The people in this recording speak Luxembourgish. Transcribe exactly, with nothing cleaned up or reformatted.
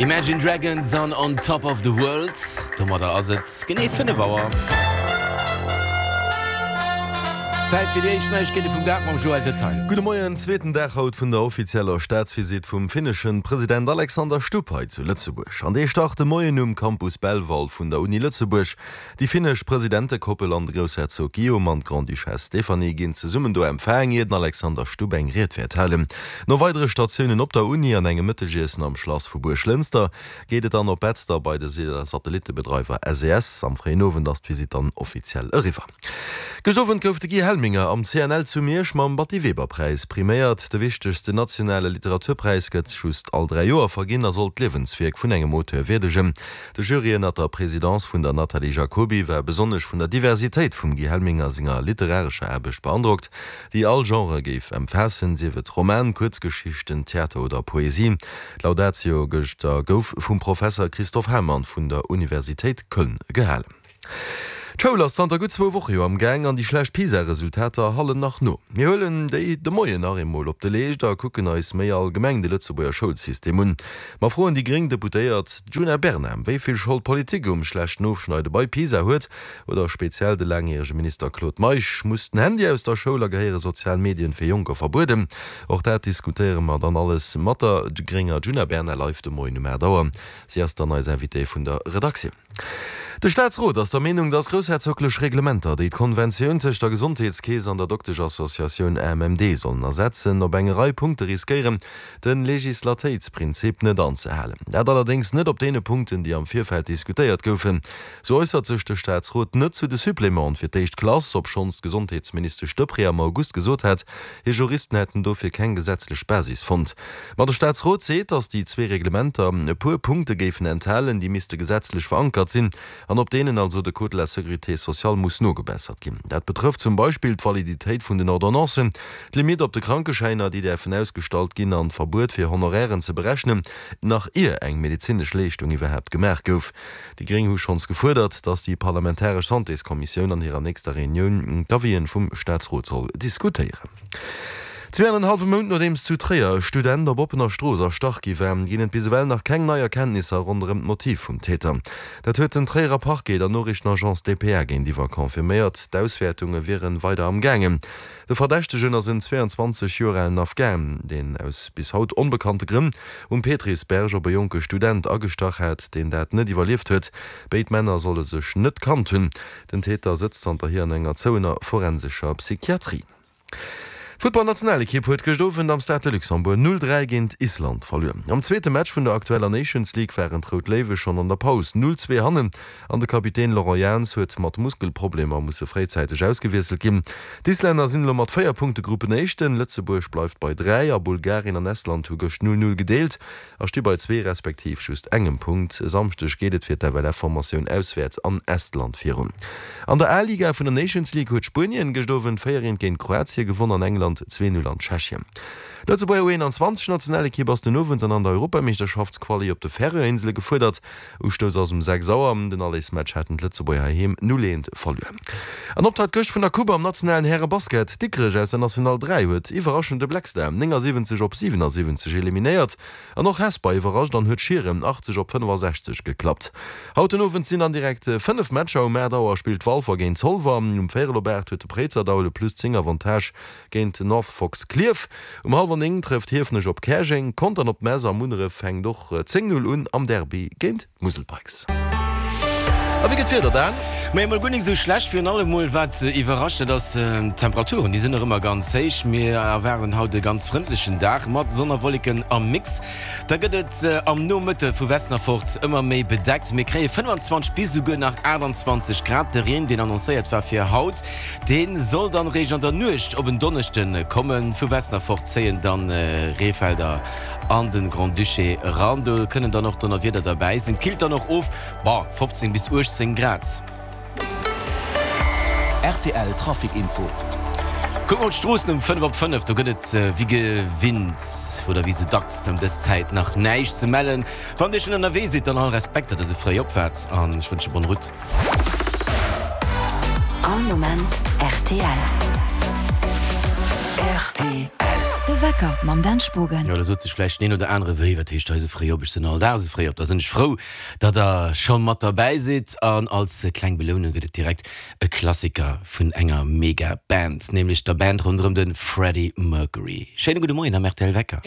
Imagine Dragons an On Top of the World. Domadder ass et genee fënnef Auer. Zäit fir déi éischt Neiegkeete vum Dag mam Joël Detaille. Gudde Moien, Zweeten Dag haut vun der offizieller Staatsvisitt vum finneschen President Alexander Stubb hei zu Lëtzebuerg. An dee start de Moien um Campus Belval vun der Uni Lëtzebuerg. Déi finnesch Presidentekoppel an de Groussherzog Guillaume an d'Grande-Duchesse Stéphanie ginn zesummen do empfaang, ier den Alexander Stubb eng Ried wäert halen. No weidere Statiounen op der Uni an engem Mëttegiessen am Schlass vu Buerglënster geet et dann op Betzder bei de Satellittebedreiwer S E S. Am fréien Owend ass d'Visitt dann offiziell eriwwer. Gëscht Owend gouf de Guy Helminger am C N L zu Miersch mam Batty-Weber-Präis priméiert. De wichtegsten nationale Literaturpräis gëtt just all dräi Joer verginn a soll d'Liewenswierk vun engem Auteur wierdegen. De Jury ënnert der Presidence vun der Nathalie Jacoby war besonnesch vun der Diversitéit vum Guy Helminger senger literarescher Aarbecht beandrockt, déi all Genre géif ëmfaassen, sief et Roman, Kuerzgeschichten, Theater oder Poesie. D'Laudatio gëschter gouf vum Professer Christoph Hamann vun der Universitéit Köln gehalen. D'Schoul ass zanter gutt zwou Woche jo am Gaang an déi schlecht PISA-Resultater hallen nach no. Mir huelen déi de Moien nach eemol op de Leescht a kucken eis méi allgemeng de Lëtzebuerger Schoulsystem un. Mer froen déi gréng Deputéiert Djuna Bernard, wéi vill Schold d'Politik um schlechten Ofschneide bei PISA huet, oder speziell de laangjärege Minister Claude Meisch. Muss den Handy aus der Schoul a gehéiere sozial Medien fir Jonker verbueden? Och dat diskutéiere mer dann alles mat der grénger Djuna Bernard live de Moien um aacht Auer. Si ass dann eis Invitée vun der Redaktioun. De Staatsrot ass der Meenung, datt groussherzoglech Reglementer, déi d'Konventioun tëscht der Gesondheetskeess an der Dokteschassociatioun A M M D sollen ersetzen, op eng Rei Punkte riskéieren, de Legislatéitsprinzip net anzehalen. Dat allerdéngs net op deene Punkten, déi am Virfeld diskutéiert goufen. Sou äussert sech de Staatsrot net zu de Supplémenten fir d'éischt Klass, obschonns d'Gesondheetsministesch Deprez am August gesot hat, hir Juristen hätten dofir keng gesetzlech Basis fonnt. Ma de Staatsrot seet, datt déi zwee Reglementer e puer Punkte géifen enthalen, déi misste gesetzlech verankert sinn an op deenen also de Code de la sécurité sociale muss nogebessert ginn. Dat betrëfft zum Beispill d'Validitéit vun den Ordonnancen, d'Limitt op de Krankeschäiner, déi däerfen ausgestallt ginn, an d'Verbuet fir Honorairen ze berechnen, nach ier eng medezinesch Leeschtung iwwerhaapt gemaach gouf. Déi Gréng hu schonns gefuerdert, datt déi parlamentaresch Santéskommissioun an hirer nächster Reunioun d'Avisen vum Staatsrot soll diskutéieren. Zwee an en hallwe Mount nodeems zu Tréier e Student op oppener Strooss erstach gi war, ginn et bis ewell nach keng nei Erkenntnisser ronderëm d'Motiv vum Täter. Dat huet den Tréierer Parquet der Noriichtenagence D P A géintiwwer confirméiert. D'Auswäertunge wiere weider am Gaangen. De Verdächtegen ass en zwee an zwanzeg Joer alen Afghan, deen aus bis haut onbekannte Grënn um Petrisberg op e jonke Student agestach hat, deen dat net iwwerlieft huet. Béid Männer solle sech net kannt hunn. Den Täter sëtzt zanterhier an enger zouener forensescher Psychiatrie. D'Futtballnationalekipp huet gëscht Owend am Stade de Luxembourg null dräi géint Island verluer. Am zweete Match vun der aktueller Nations League waren d'Rout Léiwe schonn an der Paus null zwee hannen an de Kapitän Laurent Jans huet mat Muskelproblemer musse fréizäiteg ausgewiesselt ginn. D'Islänner sinn elo mat véier Punkte Gruppenéischten, Lëtzebuerg bleift bei dräi a Bulgarien an Estland hu gëscht null null gedeelt a sti bei zwee respektiv just engem Punkt. E Samschdeg geet et fir d'F L F-Formatioun auswäerts an Estland virun. An der A-Liga vun der Nations League huet Spuenien gëscht Owend véier eent géint Kroatien gewonn an England zwee null an Tschechien. D'Lëtzebuerger U eenanzwanzeg Nationalekipp ass den Owend dann an der Europameeschterschaftsquali op de Färöerinsele gefuerdert. Ustouss ass um sechs Auer. Den Allersmatch haten d'Lëtzebuerger heiheem null eent verluer. An Optakt gëscht vun der Coupe am nationalen Härebasket, Dikrech aus der National dräi huet iwwerraschend de Black Star néngasiwwenzeg op siwenassiwwenzeg eliminéiert. An och Hesper iwwerrascht an huet Schieren achtzeg op fënnefasechzeg geklappt. Haut den Owend sinn dann direkt fënnef Matcher. Um aacht Auer spillt Walfer géint Zolwer. Um véierel op aacht huet de Préizerdaul e plus zéng Avantage géint North Fox Clierf. Um hallwer néng trëfft Hiefenech op Käerjeng. Contern op Mess a Munneref fänkt och zéng null un am Derby géint d'Musel Pikes. A wéi gëtt d'Wieder dann? Mee emol guer nik esou schlecht, virun allem mol wat iwwerrascht, dat ass d'Temperaturen, déi sinn nach ëmmer ganz héich. Mir erwaarden haut e ganz frëndlechen Dag mat Sonn a Wolleken am Mix. Da gëtt et am Nomëtte vu Westen erfort ëmmer méi bedeckt. Mir kréie fënnfanzwanzeg bis esouguer nach aachtanzwanzeg Grad. De Reen, deen annoncéiert war fir haut, dee soll dann eréischt an der Nuecht op en Donneschde kommen. Vu Westen erfort zéien dann Reefelder an de Grand-Duché eran. Do kënnen dann och Donnerwieder derbäi sinn. Killt dann och of, bon, fofzéng bis uechtzéng Grad. R T L Trafic Info. Kucke mer op d'Stroossen um fënnef op fënnef. Do gëtt et wéi gewinnt oder wéi sou dacks ëm dës Zäit nach näischt ze mellen. Wann Dir schonn ënnerwee sidd, dann all Respekt, datt Der sou fréi op waart an ech wënsche bonne route. All Moment R T L. R T L. De Wecker mam Dan Spogen. Jo, da sot sech vläicht den een oder anere, Wéi, wat heescht hei esou fréi op? Ech sinn all Dag esou fréi op. Da sinn ech frou, datt der scho mat derbäi sidd. An als kleng Belounung gëtt et direkt e Klassiker vun enger mega Band, nämlech der Band ronderëm de Freddie Mercury. Schéine gudde Moien am rtl Wecker.